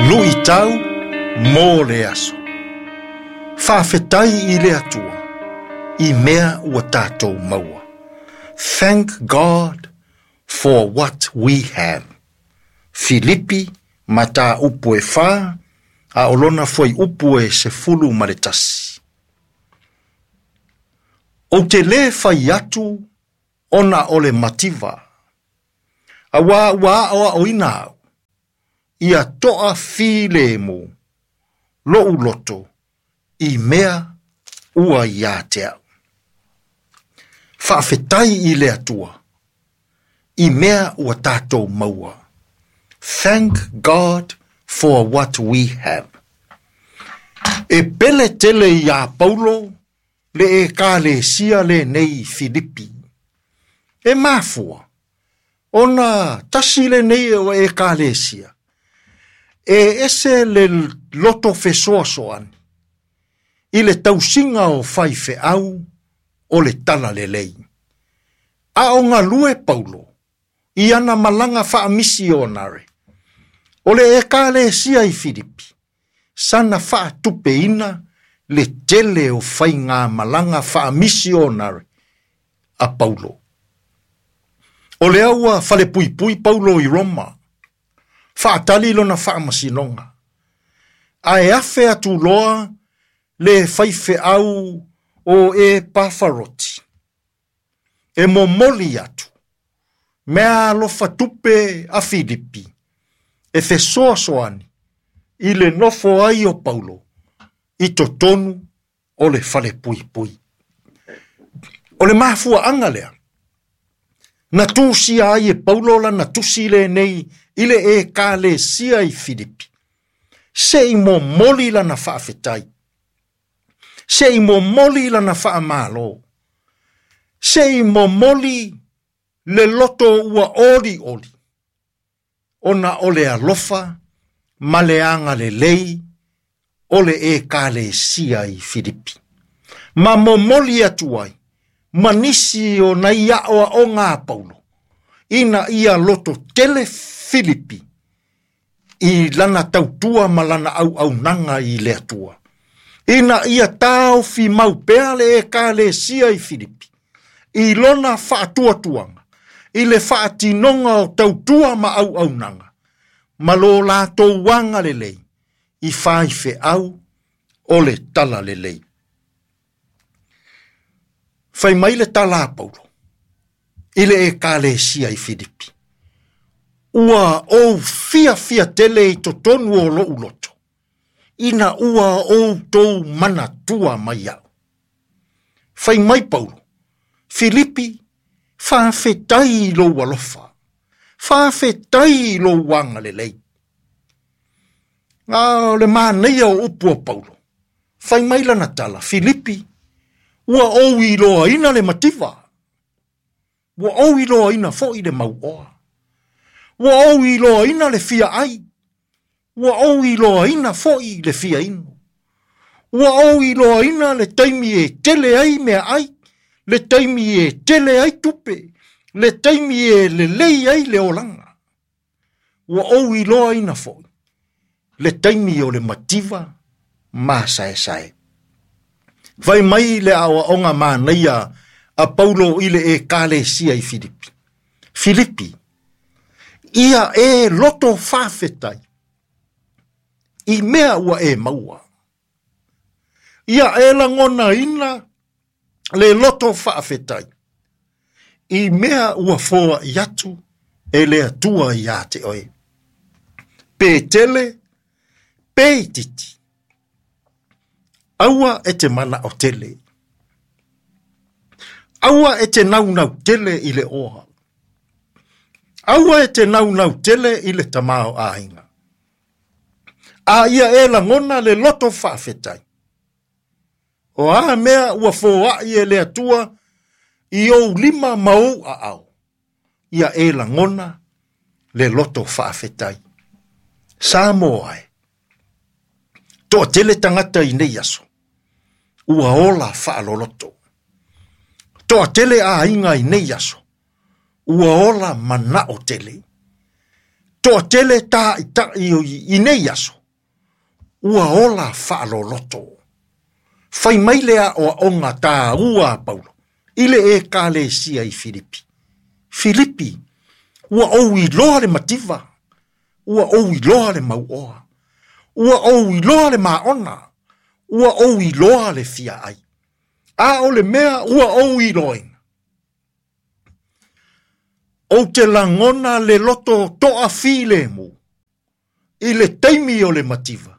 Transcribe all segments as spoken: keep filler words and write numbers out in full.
Luʻitau mo le aso. Faafetai i le Atua i mea ua tatou maua. Thank God for what we have. Filipi mataupu e fa a o lona fuaiupu e sefulu ma le tasi. Ou te lē fai atu ona o le mativa. Auā ua aʻoaʻoina au. Ia toʻafilemu loʻu loto i mea ua iā te au. Faafetai i le Atua i mea ua tatou maua. Thank God for what we have. E pele tele iā Paulo le Ekalesia lenei i Filipi. E mafua, ona tasi lenei o Ekalesia, e ese le loto fesoasoani i le tausiga o faifeau o le talalelei. A o galue Paulo i ana malaga faamisionare. O le Ekalesia i Filipi, sana faatupeina le tele o faigamalaga faamisionare a Paulo. O lea ua falepuipui Paulo i Roma, faatali lona faamasinoga. Ae afe atu loa le faifeau o Epafaroti. E momoli atu, meaalofa tupe a Filipi, e fesoasoani i le nofo ai o Paulo i totonu o le falepuipui. O le mafuaʻaga lea, na tusia ai e Paulo lana tusi lenei i le Ekalesia i Filipi. Se i momoli lana faafetai. Se i momoli lana faamalo. Se i momoli le loto ua olioli. Ona o le alofa ma le agalelei o le Ekalesia i Filipi. Ma momoli atu ai, ma nisi o nai aʻoaʻoga a Paulo, ina ia loto tele Filipi i lana tautua ma lana auaunaga i le Atua. Ina ia taofi mau pea le Ekalesia i Filipi, i lona faatuatuaga, i le faatinoga o tautua ma auaunaga, ma lo latou agalelei i faifeau o le talalelei. Fai mai le tala a Paulo i le Ekalesia i Filipi. Ua ou fiafia tele i totonu o loʻu loto, ina ua outou manatua mai aʻu. Fai mai Paulo, Filipi, faafetai i lou alofa, faafetai i lou agalelei. A o le manaia o upu a Paulo, fai mai lana tala, Filipi, ua ou iloaina le mativa, ua ou iloaina foʻi le mauoa, ua ou iloaina le fia ʻai, ua ou iloaina foʻi le fia inu, ua ou iloaina le taimi e tele ai meaʻai, le taimi e tele ai tupe, le taimi e lelei ai le olaga. Ua ou iloaina foʻi le taimi o le mativa masaesae. Fai mai le aʻoaʻoga manaia a Paulo i le Ekalesia i Filipi. Filipi, ia e loto faafetai i mea ua e maua. Ia e lagonaina le loto faafetai i mea ua foaʻi atu e le Atua iā te oe. Pe tele, pe itiiti. Aua e te manaʻo tele. Aua e te naunau tele i le oa. Aua e te naunau tele i le tamaoaiga. A ia e lagona le loto faafetai. O a mea ua foaʻi e le Atua i ou lima ma ou aao. Ia e lagona le loto faafetai. Samoa e. Toatele tagata i nei aso. Ua ola faaloloto. Toatele aiga i nei aso. Ua ola manaʻo tele. Toatele taʻitaʻi i nei aso, ua ola faaloloto. Fai mai le aʻoaʻoga tāua a Paulo i le ekalesia i Filipi. Filipi, ua ou iloa le mativa, ua ou iloa le mauoa, ua ou iloa le maona, ua ou iloa le fiaai. A o le mea ua ou iloaina. Ou te lagona le loto toafilemu i le taimi o le mativa,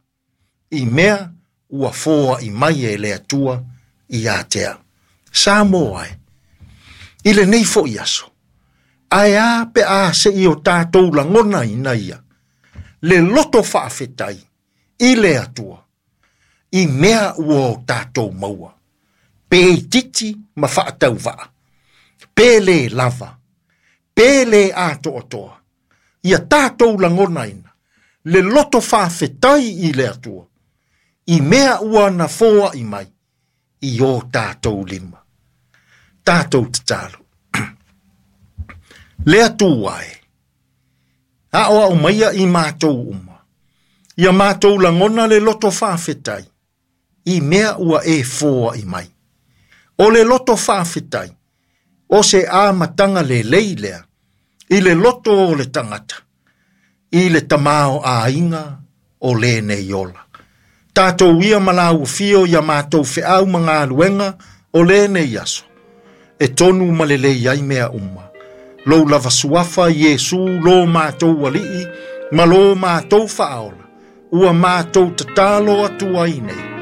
i mea ua foaʻi mai e le Atua ia te au. Samoa e, i lenei foʻi aso, ae a pe a seʻi o tatou lagonaina ia, le loto faafetai i le Atua, i mea ua o tatou maua, pe itiiti ma faatauvaa, pe lē lava, pe lē atoatoa, ia tatou lagonaina, le loto faafetai i le Atua, i mea ua na foaʻi mai, i o tatou lima. Tatou tatalo. Le Atua e, aʻoaʻo maia i matou uma, ia matou lagona le loto faafetai, i mea ua e foaʻi mai. O le loto faafetai, o se amataga lelei lea, i le loto o le tagata, i le tamaoaiga o lenei ola. Tatou ia ma lau afio ia matou feau ma galuega o lenei aso, e tonu ma lelei ai mea uma. Lou lava suafa Iesu lo matou Alii, ma lo matou Faaola, ua matou tatalo atu ai nei.